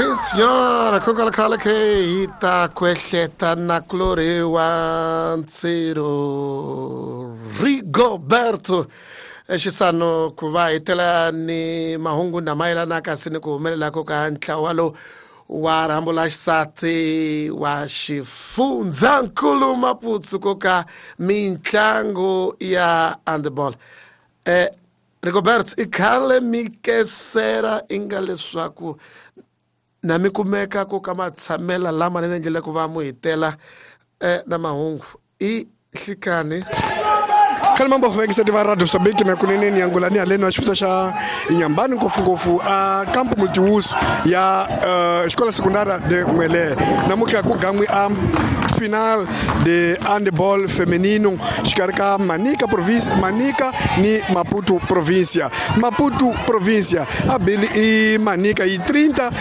Sim senhora, khokala ke hi ta kwehleta na kulori wa ntsiro Rigoberto Xisano ku va hi tela ni mahungu na mayelana kasi ni ku humelelako ka ntlawa lowu wa rhambo la xisati wa xifundzankulu Maputsu ko ka mitlangu ya handball. Rigoberto, i khale mi kesera i nga leswaku na mi kumeka ku ka matshamela lamanene endlela ku va mu hitela na mahungu i hlikani. Khale mambo vekiseti va radio Mozambique na kunene ni angula ni haleni wa xifundza xa Inhambane, ngopfungopfu a campo multiuso ya Escola Secundária de Muelé. Namuntlha ku gan'wi a final de handball feminino xikarhi ka Manica province, Manica ni Maputo provincia. Maputo provincia a bili i Manica yi 30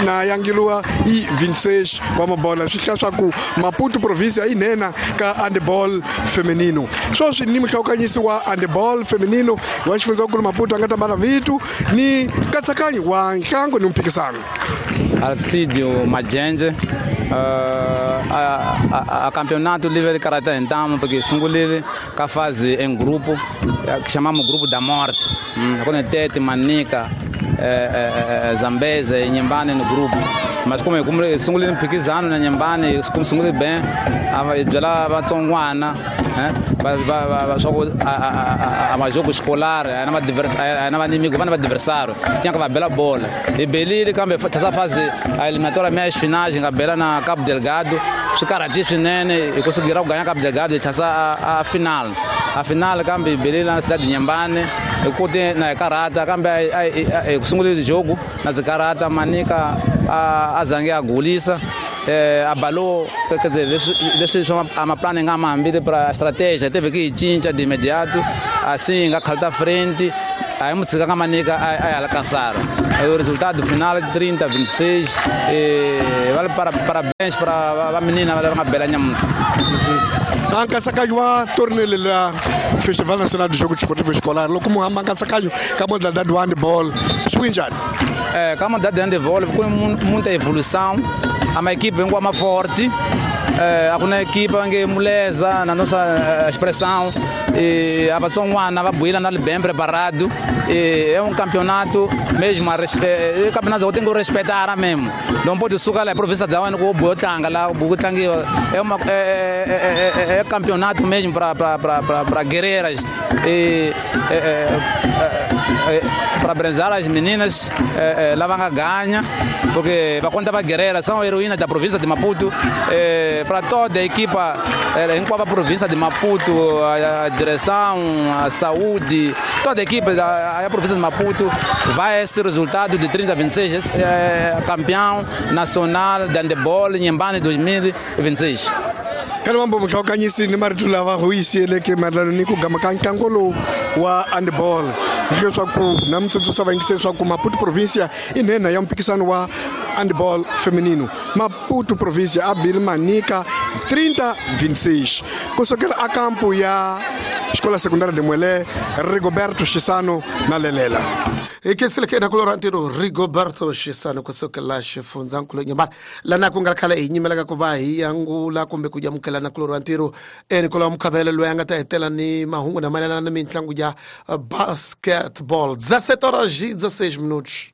na yangiliwa yi 26 wa mabola, swi hlaya swa ku Maputo provincia yi nena ka handball feminino. Sweswi ni muhlawukanyisi wa handball feminino wa xifundzankulu Maputo a nga ta mbala vitu ni nkatsakanyo wa ntlangu ni mphikisano. Alcidio Majenje, a campeonato livre de karate então, porque sungulile ka fase em grupo, que chamamos grupo da morte. Quando Tete, Manica, Zambeze, Inhambane no grupo. Mas como sungulile mphikizano na Inhambane, como sungulile bem, a byela vatsongwana, swa ku a majogo escolar, a na a na inimigo, va na adversário, tinha que va bela bola. E belile kambe essa fase a eliminatória meias finais nga bela na Cabo Delgado, swi karhati swinene hi kusugira ku ganha Cabo Delgado hi tlhasa a final. A final kambe belile na cidade de Inhambane, hi kote na hi karhata kambe hi ku sungulile jogo na ndzi karhata Manica a zange a gulisa. Abalou, quer dizer, leswi swa a maplano nga ma hambile para estratégia teve que cinca de imediato, assim nga khalta frente, aí mu tshika nga Manica a alcançar. Aí o resultado final 30-26, vale para parabéns para a menina vale nga bela nyamuntu. A nkatsakanyo wa torneo la Festival Nacional do Jogo Desportivo Escolar, loko mu hamba nkatsakanyo ka modalidade wa handball, swi njhani? Ka modalidade de handball ku muita evolução, a uma equipe vem com uma forte, a kuna equipe nge muleza na nossa expressão, e a vatsongwana va buila na bem preparado, e é um campeonato mesmo a é campeonato que tem que respeitar mesmo. Não pode sucar lá a província da Wani ku botlanga lá, butlangiwa é uma é campeonato mesmo para guerreiras e para brenzar as meninas, lá vão ganhar, porque para conta para guerreira são heroínas da província de Maputo, para toda a equipa em qual a província de Maputo, a direção, a saúde, toda a equipa da província de Maputo vai esse resultado de 30-26, campeão nacional de handebol em Inhambane 2026. Kana mambo muhlawukanyisi ni marito lava hu yisiyeleke mayelana ni ku gama ka ntlangu lowu wa handball, leswaku na mitsundzuxa vayingiseri leswaku Maputo provincia i nhenha ya mphikisano wa handball feminino. Maputo provincia a bile Manica 30-26 kusukela a kampu ya Escola Secundária de Muelé, Rigoberto Xisano na Lelela. Hi khenseleke na kulora ntirho Rigoberto Xisano kusukela xifundzankulu Inhambane, lana ku nga khale hi nyimelaka ku va hi angula kumbe ku amukela na kulora ntirho Nicolau Mukhabele loyi a nga ta hetela ni mahungu na mayelana na mitlangu ya basketball. 17 horas e 16 minutos.